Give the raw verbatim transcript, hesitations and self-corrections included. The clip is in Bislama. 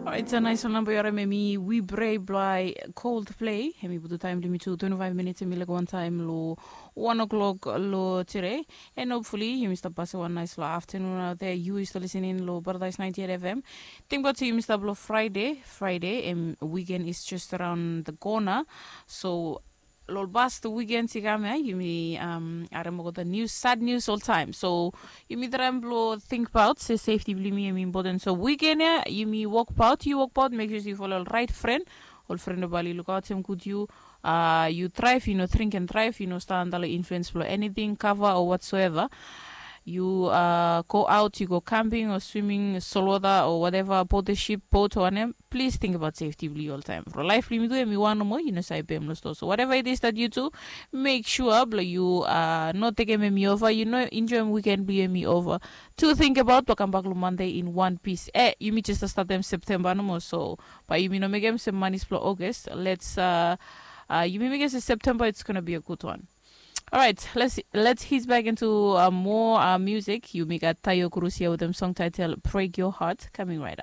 Orait, a nais ol namba yu harim em i We Pray blong Coldplay. Em i putum taem blong yumi tu twenty-five minutes, em i laik wan taem long one o'clock long tire. And hopefully yumi stap pasim wan nais long afternoon out there. Yu yu stap listening long Paradise ninety-eight F M. Tingbaot se yumi stap long Friday. Friday, em, weekend is just around the corner. So long past weekend i kam ya, yumi, um, harim olgeta news, sad news oltaem. So yumi traem blong tingbaot se safety blong yumi em important. So weekend ya yumi wokbaot, yu wokbaot, make sure se yu follow ol right friend, ol friend we bae oli lukaotem gud yu. Uh, yu drive, yu no drink and drive, yu no stap under long influence blong anything, kava o whatsoever. Yu, uh, go out, yu go camping o swimming, saltwater o whatever, boat, ship, boat o wanem, please tingbaot safety blong yu oltaem. From life blong yumi tu em i wan nomo, yu no save pem long stoa. So whatever it is that you do, make sure blong yu, uh, no tekem em i ova, yu no enjoem weekend blong yu em i ova. Tu tingbaot blong kambak long Monday in one piece. Eh, yumi jes statem September nomo, so bae yumi no mekem se manis blong August. Let's, uh, uh, yumi mekem se September, it's gonna be a good one. All right, let's let's head back into, uh, more, uh, music. Yumi gat Taio Cruz ia wetem song title Break Your Heart coming right up.